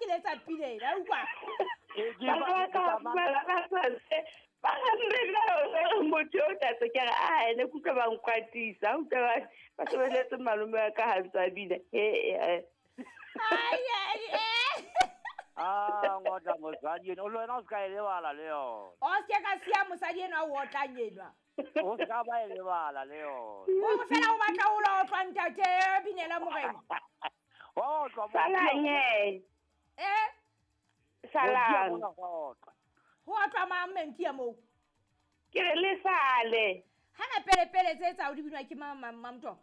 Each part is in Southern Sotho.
ke letsa pina ena, utlwa. Ba ka ba ga motho o tlatse ke re a ene kutlwa ba nkwatisa utlwa ba sebeletse malome wa ka ha ntse a bina. Ai ai eh. Ah, ngotla mosadi eno, le wena o se ka e lebala le yona. O se ka siya mosadi enwa o otlang enwa. O se ka ba e lebala le yona. O fela o batla o lo otlwa ntate binela morena. Wa otlwa mo. Salang he. Eh? Salang. Ho otlwa mang menti ya moo? Ke re le sale. Hana pele pele tse tsa o di binwa ke mamto.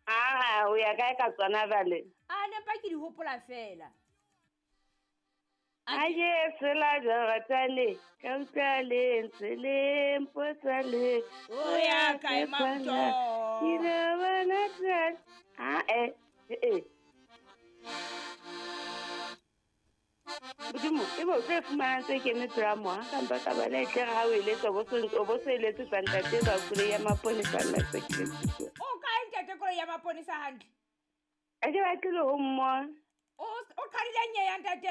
Ah, o ya kae ka tsona bale? A ne pa ke di hopola fela. Aye sela jaratane ka utlwa le ntse le mpotsa le. O ya kae mamto? Ke la bona tsa. Ah eh eh. Modimo, e bo tse fumanang tse kene pela moha, kampa ka ba le tle ha o eletsa o bo se eletse tsa ntate ba koloi ya maponesa nna se ke. O kae ntate koloi ya maponesa hantle? A ke batle le ho mmona. O qadile nye ya ntate.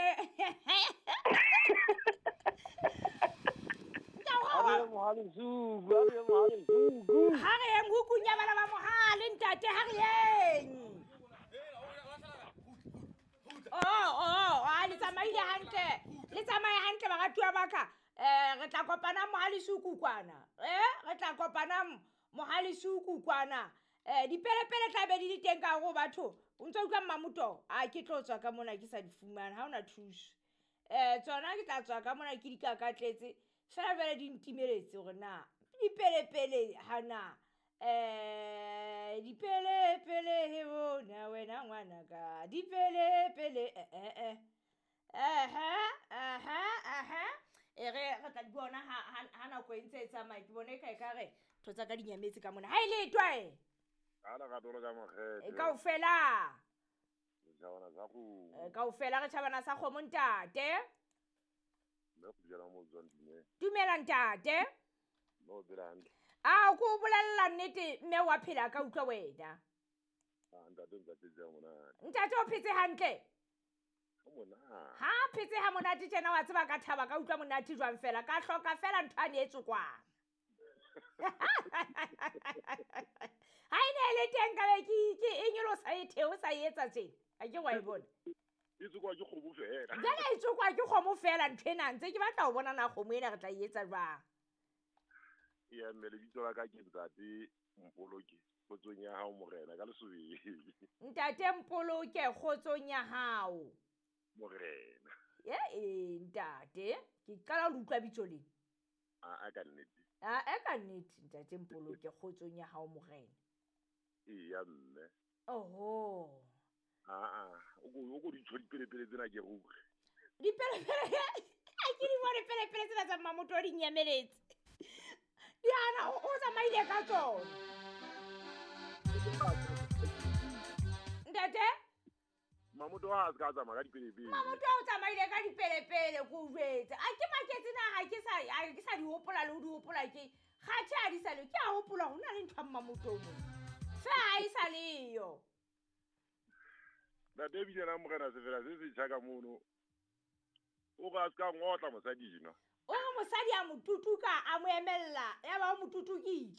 Ha re yeng hukung ya bana ba mohale ntate, ha re yeng. Oh, a le tsamaile hantle. Le tsamaye hantle baratuwa ba ka. Re tla kopana mohale suku kwana. Re tla kopana mohale suku kwana. Dipelepele tla be di le teng ka hore batho. O ntso utlwa Mmamoto? A ke tlo tswa ka mona ke sa di fumana, ha hona thuso. Tsona ke tla tswa ka mona ke di kakatletse. Fela jwale di ntimeletse hore na dipelepele ha na. Dipelepele he bona wena ngwanaka. Dipelepele Aha. E re re tla di bona ha nako e ntse e tsamaya, ke bone e ka re ntho tsa ka di nyametse ka mona. Ha e le twa e. Ala ka tolo ka mokgetho. Kaofela. Tjhabana sa kgomo. Kaofela re tjhabana sa kgomo ntate. Mme go jela mo tswang dumela. Dumela ntate. No phela hantle. A ko bolella nnete mme wa phela ka utlwa wena. Ah ntate ntse phetse monate. Ntate o phetse hantle? Ha monate. Ha phetse ha monate tjena wa tseba ka thaba ka utlwa monate jwang fela ka hloka fela ntho ane e tsokwang. Ha ene le teng ka be ke e nyolosa e theo sa etsa tjena. A ke wa e bona. E tsokwa ke kgomo fela. Jwale e tsokwa ke kgomo fela ntho ena ntse ke batla ho bona na kgomo ena re tla e etsa jwang. Ya mme lebitso la ka ke Ntate Mpoloke kgotsong ya hao morena ka lesobeng. Ntate Mpoloke kgotsong ya hao morena. Ye ntate ke qala ho utlwa bitso lena. A ka nnete. A ka nnete Ntate Mpoloke kgotsong ya hao morena. Eya mme. Oho. A o ko di tsho dipelepele tsena ke ruri. Dipelepele a ke di bone pelepele tsena tsa Mmamoto di nyameletse. Diana o tsamaile ka tsona. Ntate? Mmamoto ha a se ka tsamaya ka dipelepele. Mmamoto o tsamaile ka dipelepele ko jwetse. A ke maketse na ha ke sa di hopola le ho di hopola ke kgathe a di sa le ke a hopola ho na le ntho ya Mmamoto mo. Fe ha e sa leyo. Ntate bile na morena se fela se se tjha ka mono. O ka se ka ngotla mosadi ena. O re mosadi a mo tutuka a mo emella ya ba o mo tutukile.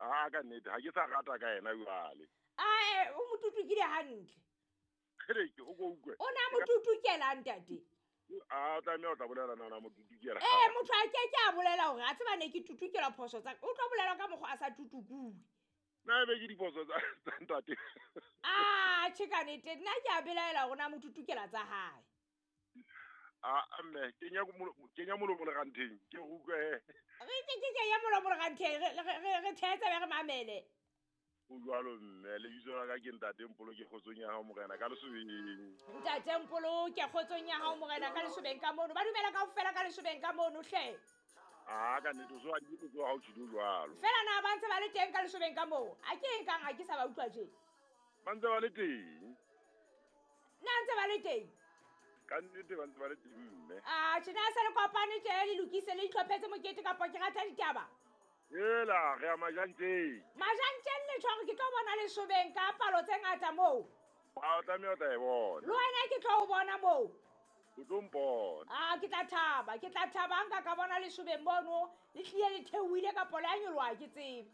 Ah ka nnete ha ke sa rata ka yena jwale. Ah o mo tutukile hantle. Kgele o go utlwe. O na mo tutukela ntate. Ah o tlameha o tla bolela na mo tutukela. Motho a ke ke a bolela hore a tseba ne ke tutukela phoso tsa o tlo bolela ka mokgwa a sa tutukuwe. Na be ke diphoso tsa ntate. Ah che ka nnete nna ke a belaela hore na mo tutukela tsa hae. Ah mme kenya molomo le ranteng ke utlwe. Re ke kenya molomo le ranteng re thetsa be re mamele. O jwalo mme lebitso la ka ke Ntate Mpoloke kgotsong ya hao morena ka lesobeng. Ntate Mpoloke kgotsong ya hao morena ka lesobeng ka mono. Ba dumela kaofela ka lesobeng ka mono hle. Ah ka nnete o so a di tso ha o tshilo jwalo. Fela na ba ntse ba le teng ka lesobeng ka moo. A ke eng kang ha ke sa ba utlwa tje. Ba ntse ba le teng. Na ntse ba le teng. Ka nnete ba ntse ba le teng mme. Ah tjena se le kopane tje le lokise le itlhophetse mokete kapa ke rata ditaba. Ela re ya majanteng. Majanteng le tshware ke tlo bona lesobeng ka palo tse ngata moo. A o tlameha o tla e bona. Le wena ke tlo o bona moo. moo. O tlo mpona. A ke tla thaba, ke tla thaba nka ka bona lesobeng mono le tlile le theohile kapo le a nyoloha ke tsebe.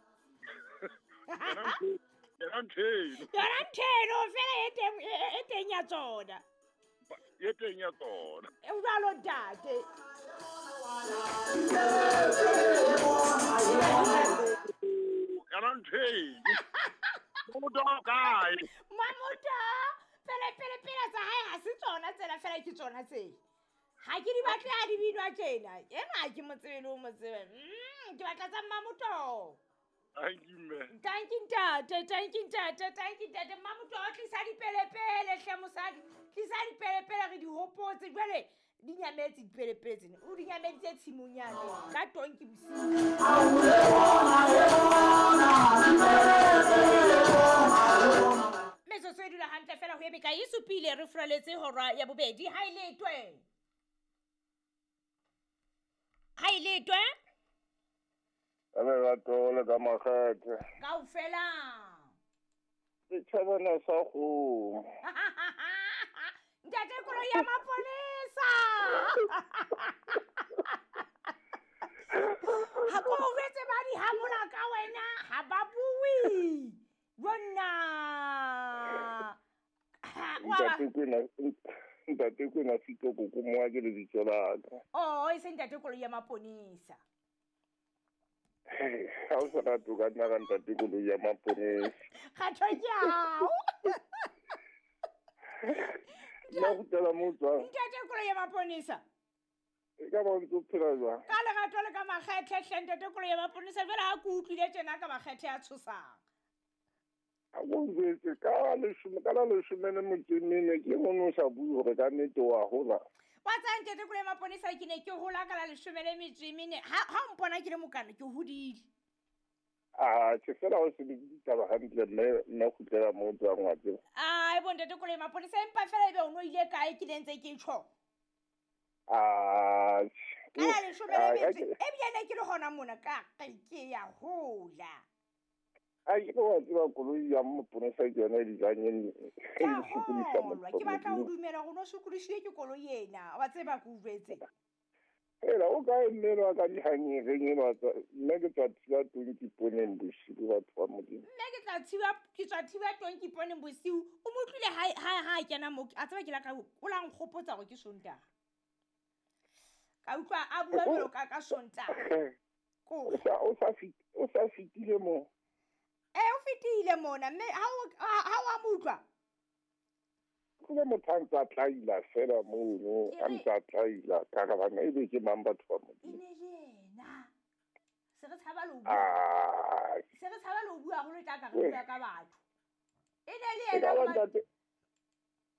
Yona ntho eno. Yona ntho eno fela e teng e teng ya tsona. E teng ya tsona. E jwalo ntate. Yona ntho eno. Mamoto o kae? Mamoto pele pele pele tsa hae ha se tsona tsela fela ke tsona tse. Ha ke di batle ha di binwa tjena. Ena ha ke mo tsebe le o mo tsebe. Ke batla tsa Mamoto. Thank you, mme. Thank you, ntate. Thank you, ntate. Thank you, ntate. Mamoto o tlisa dipelepele hle mosadi. Tlisa dipelepele re di hopotse. Jwale di nyametse dipelepele tsena. O di nyameditse tshimong yane ka tonki bosiu. Metsotso e dula hantle fela ho ebe ka e supile re furaletse hora ya bobedi. Ha e letwe. Ha e letwe. Ka lerato le ka makgethe. Kaofela. Setjhabana sa kgomo. Ntate koloi ya mapolesa. Ha ko jwetse ba di hamola ka wena ha ba bue. Jonna. Ntate Kwena Sitoko ko moa ke lebitso la ka. Oh, e se ntate koloi ya maponesa. Ha o sa rate o ka nna ka ntate koloi ya maponesa. Kgatho ke hao. Nna kgutlela mo o tswang. Ntate koloi ya maponesa. E ka ba o ntse o phela jwang? Ka lerato le ka makgethe hle ntate koloi ya maponesa jwale ha ke utlwile tjena ka makgethe a tshosang. Ha o njwetse ka la leshome le metso e mene ke mono o sa bue hore ka nnete wa hola. Wa tsaya ntate koloi ya maponesa ke ne ke hola ka la leshome le metso e mene. Ha o mpona ke le mokana ke hodile. Ah, ke fela o se ditaba hantle mme nna kgutlela mo o tswang wa tseba. Ai bo ntate koloi ya maponesa empa fela ebe o no ile kae ke ne ntse ke tjho. Ah, ka la leshome le metso ebile ne ke le hona mona ka ke ya hola. A ke wa tseba koloi ya maponesa ke yona e dijang e sokodisa motho. Ke batla ho dumela hore no sokodisitswe ke koloi ena. Wa tseba ke o jwetse. Hela o kae mme wa ka dihanyereng eno nna ke tswa thiba tonki poneng bosiu batho ba Modimo. Nna ke tla thiba ke tswa thiba tonki poneng bosiu. O mo utlwile ha kena mo a tseba ke la ka o la nkgopotsa hore ke Sontaha. Ka utlwa a bua jwalo ka Sontaha. O sa fitile mo. O fetile mona mme ha o a mo utlwa. Ke motho a ntse a tlaila fela mono, a ntse a tlaila ka re bana ebe ke mang batho ba Modimo. E ne le yena. Se re tshaba le ho bua. Se re tshaba le ho bua haholo tla ka re bua ka batho. E ne le yena.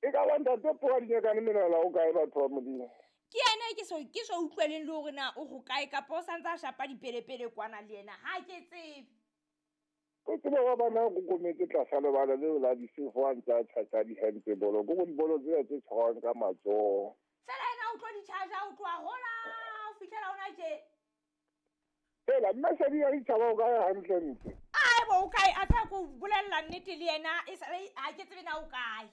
E ka ba ntate Poa Dinyakane menala o kae batho ba Modimo? Ke yena ke so utlweleng le hore na o ho kae kapa o santse a shapa dipelepele kwana le yena. Ha ke tsebe. O tseba wa bana go kometse tlasa lebala leo la disefo a ntse a tjhatjha dihempe bolo. Ko dibolo tsena tse tshwarwang ka matsoho. Fela ena o tlo di charge o tloha hola o fihlela hona tje. Fela mme Sedi ya ditjhaba o kae hantle ntle? Ai bo o kae a tla ko bolella nnete le yena e sa ha ke tsebe na o kae.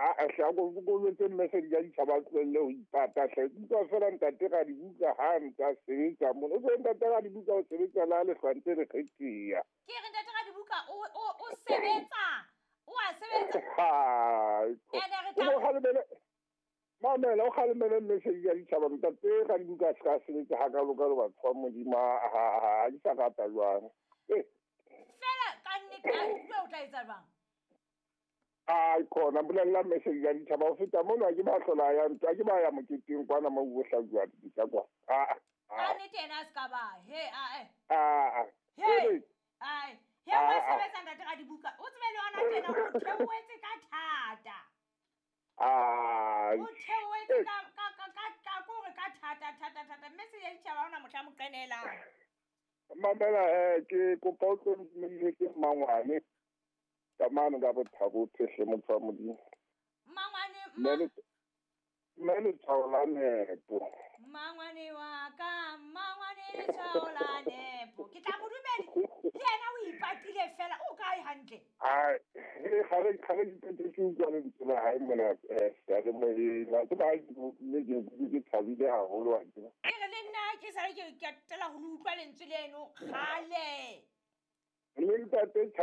A hle a ko boletse mme Sedi ya ditjhaba a tlohelle ho ipata hle. Ke utlwa fela ntate Radibuka ha ntse a sebetsa mona. O tsebe ntate Radibuka o sebetsa le ha lehlwa ntse le kgetheha. Ke re ntate Radibuka o sebetsa. O a sebetsa. Ene re tla Mamela o kgalemele mme Sedi ya ditjhaba ntate Radibuka a se ka sebetsa hakalo-kalo batho ba Modimo ha di sa rata jwang. Fela ka nnete a utlwe o tla etsa jwang? Ai khona bolella mme Sedi ya ditjhaba o feta mono ha ke ba hlola ya ntwa ke ba ya moketeng kwana mo o hlajuwa dipitsa kwa. Ka nnete yena a se ka ba he a he ai he wa sebetsa ntate Radibuka o tsebe le yona tjena o theohetse ka thata. O theohetse ka kore ka thata thata thata mme Sedi ya ditjhaba ona mohla mo qenelang. Mamela ke kopa o tlo ntumedise mmangwane. Ka mane ka bothabo phehle motho wa Modimo. Mmangwane mme letshwao la nepo. Mmangwane wa ka, mmangwane letshwao la nepo. Ke tla mo dumedi le yena o ipa ipatile fela o kae hantle? A gale gale ke ke utlwa lentswe la hae mona seyalemoyeng. Wa tseba ha ke mme ke thabile haholo wa tseba. Ke re le nna ke sale ke qetela ho le utlwa lentswe leno kgale. Mme ntate.